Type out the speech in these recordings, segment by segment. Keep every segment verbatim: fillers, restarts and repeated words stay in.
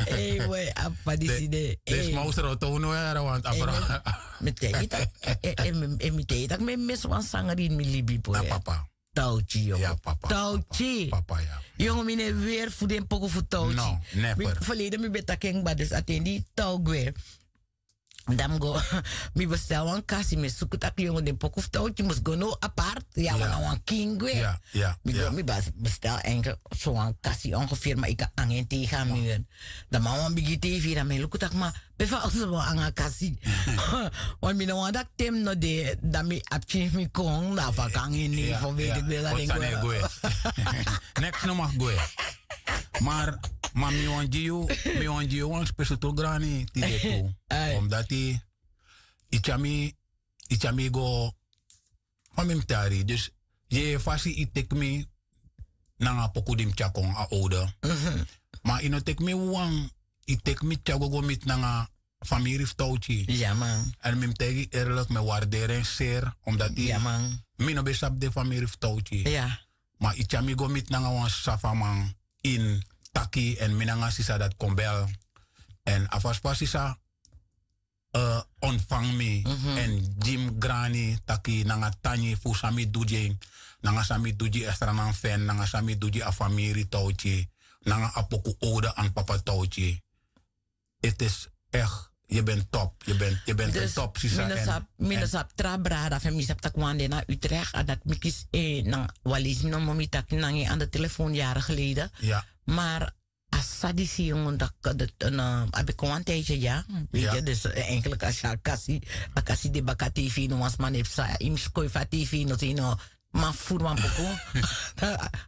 Ei boi, a papa disi de. Desi ma usra o townu era want a frow. Mi teki tak', e mi teki tak' mi e misi wan sangri ini mi libi boi. Tauchi yongo. Tauchi. Yongo mi no e weri fu den poku fu Tauchi. Ferleden mi ben taki en kba dus a ten di Tau gwe, dan mi go, mi bestel wan kasi, mi e suku tak' yongo den poku fu Tauchi mus go now apart. Ya wan na wan kin gwe. Mi go mi bestel enkel so wan kasi ongeveer ma yu kan nanga en tegen a muur. Dan man wan bigi tv dan mi e luku tak' ma pe fa oso wan nanga kasi. Want mi no wani dati te mi no de dan mi abi pikin fu mi kon dan a fa kan ini fu weti gwe dan den gwe. Neks no mag gwe. Maar maar mi wan gi yu mi wan gi yu wan spesutru grani tide tu. Omdati yu tyami yu tyami go. Fa mi mus tari dus yu e fasi yu teki mi nanga a poku di mi tyakon a owde. Ma yu no teki mi wawan yu teki mi tyago go miti nanga famiri fu Tauchi. Èn mi mus taigi yu erlik mi e warderi en seri omdati mi no ben sabi den famiri fu Tauchi. Ma yu tyari mi go miti nanga wan safaman ini taki èn mi nanga sisa dati kon bel. Èn a fasi fa sisa ontfangi mi èn gi mi grani taki nanga tangi fu san mi du gi en, nanga san mi du gi a sranan fu en nanga san mi du gi a famiri Tauchi, nanga a poku owde an papa Tauchi. Ete esi eki yu ben top yu ben yu ben den top sisa. Mi no sabi tra brada fu en mi sabi tak' wan de na Utrecht a dati mi kisi en nanga wan leisi mi no momi taki nanga en an de telefon yari geleden. Maar a sisa disi yongo daki a ben kon wan tijdje dya. Weet yu dus enkele kasi a kasi a kasi de baka tv no wan sma no e psa yu mus kon yu fu a tv no sei no. Ma furu wan poku.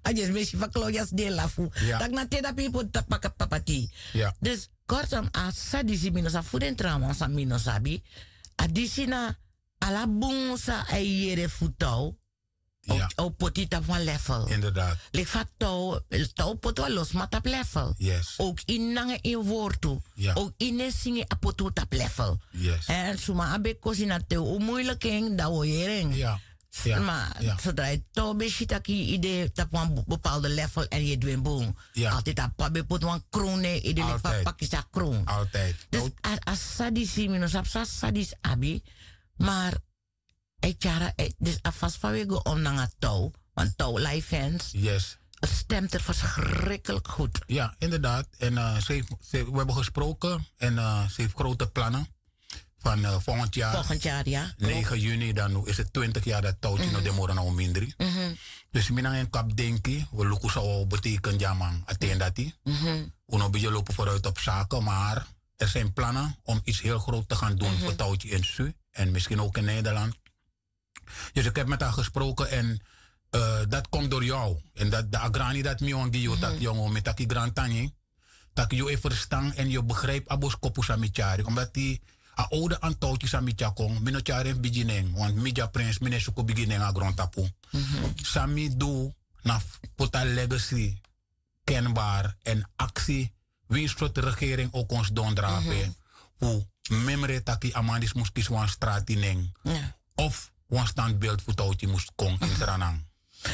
A dyesi mi e si fa klon dyesi de e lafu. Tak' na te dapi yu poti paka papa tei. Dus kortom a sisa disi mi no sabi fu den trawan san mi no sabi. A disi na ala bun san a e yere fu tow. A o poti yu tapu wan lefel. Leki fa tow tow poti wan lo sma tapu lefel. Owk ini nanga en wortu. Owk ini en singi a poti un tapu lefel. Èn suma a ben kosi na te un muiliki en dan un o yere en. Ma sodra yu tow ben si tak' yu yu de tapu wan bepalde lefel èn yu e du en bun. Altidi a papa ben poti wan kron na en ede leki fa papa kisi a kron. Dus a sisa disi mi no sabi san a sisa disi abi. Mar a e tyari a dus a fasi fa un e go om nanga tow wan tow laifens. Stem ter verschrikkelik goed. Ya inderdaad en wi hebben gesproken en ze heeft grote plannen. Van volgend jaar negen juni dan is het twintig jaar dat touwtje no demoro na un mindri. Dus mi nanga en kap denki we luku san wi o beteken dyaman a ten dati. Un no bigin lopen vooruit op zaken maar er zijn plannen om iets heel groot te gaan doen voor touwtje in su en misschien ook in nederland. Dus ik heb met haar gesproken en dat komt door jou en dat de agrani dat mi wan gi yu taki yongo mi taki grantangi. Taki yu e verstan en yu begrijp a boskopu san mi tyari omdat di a owde antouti san mi tyari kon mi no tyari en fu bigi nen want mi dya prins mi no e suku bigi nen na grontapu. San mi du na fu poti a legacy kenbar èn aksi winsi sortu regering o kon sidon drape fu memre taki a man disi mus kisi wan strati nen of wan standbeeld fu touti mus kon ini sranan.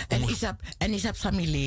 Èn yu sabi san mi leri.